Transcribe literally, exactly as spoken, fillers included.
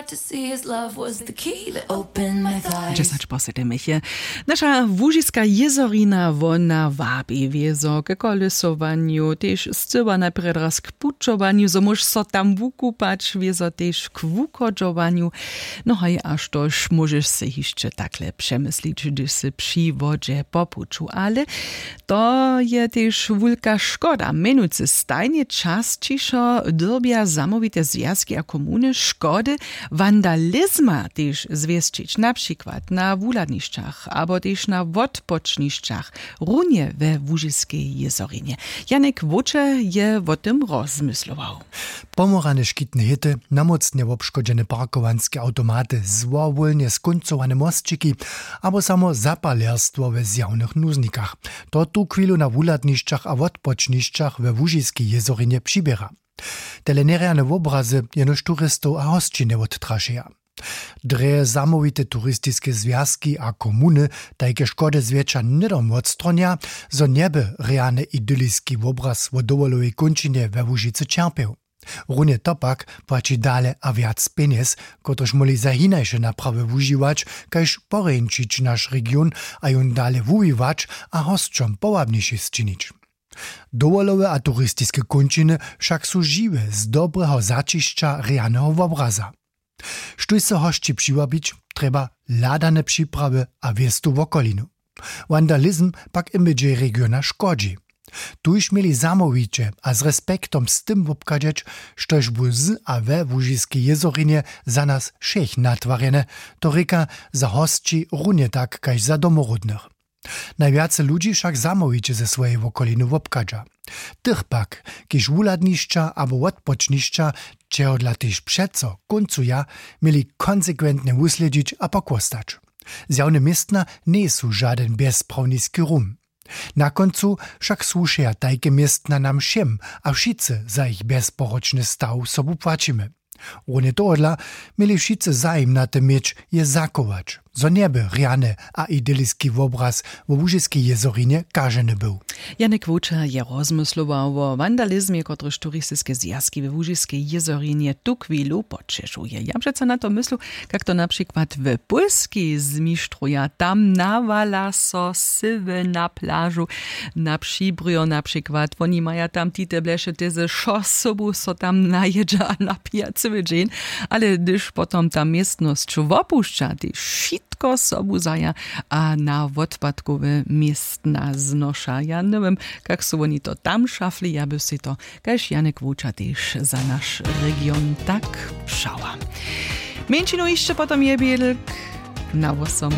To see his love was the key that opened my thighs. Dźesać po sedmich je. Naša łužiska jězorina, wona wabi wězo k kolesowanju, tež scyła najprjedy raz k pućowanju, zo móžeš so tam wukupać, wězo tež k wuchodźowanju. No haj, a štož móžeš sej hišće takle přemyslić, hdyž sy při wodźe po puću? Ale to je tež wulka škoda. Mjenujcy stajnje časćišo dyrbja zamołwite zwjazki a komuny škody wandalizma tež zwěsćić, na přikład na wuhladnišćach abo tež na wotpočnišćach, runje we łužiskej jězorinje. Janek Wočer je wo tym rozmyslował. Pomorane škitne hěty, namócnje wobškodźene parkowanske awtomaty, złowólnje skóncowane mosćiki abo samo zapalerstwo we zjawnych nuznikach, to tuchwilu na wuhladnišćach a wotpočnišćach we łužiskej jězorinje přiběra. Tele njerjane wobrazy jenož turistow a hosći njewottrašeja. Drje zamołwite turistiske zwjazki a komuny tajke škody zwjetša hnydom wotstronja, zo njeby rjany idyliski wobraz wo dowolowej kónčinje we łužicy ćerpjeł. Runje to pak płaći dale a wjac pjenjez, kotryž móhli za hinaše naprawy wužiwać, kaž porjeńšić naš region a jón dale wuwiwać a hosćom powabniši sčinić. Dowolowe a turistiske kónčiny wšak su žiwe z dobreho zaćišća rjaneho wobraza. Štóž so hosći přiwabić, trjeba hladane připrawy a wěstu wokolinu. Wandalizm pak imidźej regiona škodźi. Tuž měli zamołwiće a z respektom z tym wobchadźeć, štož bu z a we łužiskej jězorinje za nas wšěch natwarjene, to rěka za hosći runje tak kaž za domoródnych. Najwjace ludźi wšak zamołwiće ze swojej wokoliny wobchadźa. Tych pak, kiž wuhladnišća abo wotpočnišća, čehodla tež přeco kóncuja, měli konsekwentnje wuslědźić a pochłostać. Zjawne městna njejsu žadyn bjezprawniski rum. Na kóncu wšak słušeja tajke městna nam wšěm a wšitcy za jich bjezporočny staw sobu płaćimy. Runje tohodla měli wšitcy zajim na tym měć, je zachować, zo njeby rjany a idyliski wobraz wo łužiskej jězorinje kaženy był. Janek Wočer je rozmyslował wo wandalizmje, kotryž turistiske zwjazki we łužiskej jězorinje tuchwilu poćešuje. Ja přeco na to myslu, kak to na přikład w Pólskej zmištruja. Tam nawala so sywy na plažu, na přibrjo na přikład. Woni maja tam tite bleše tezy, wšo sobu so tam najědźa a napija cyły dźeń. Ale hdyž potom ta městnosć wopušća, tež wšitko sobu zaja a na wotpadkowe městna znoša. Ja njewěm, kak su woni to tam šafli, ja by sej to kaž Janek Wočer tež za naš region tak přała. Mjeńšinu hišće potom je bědlk na wosom.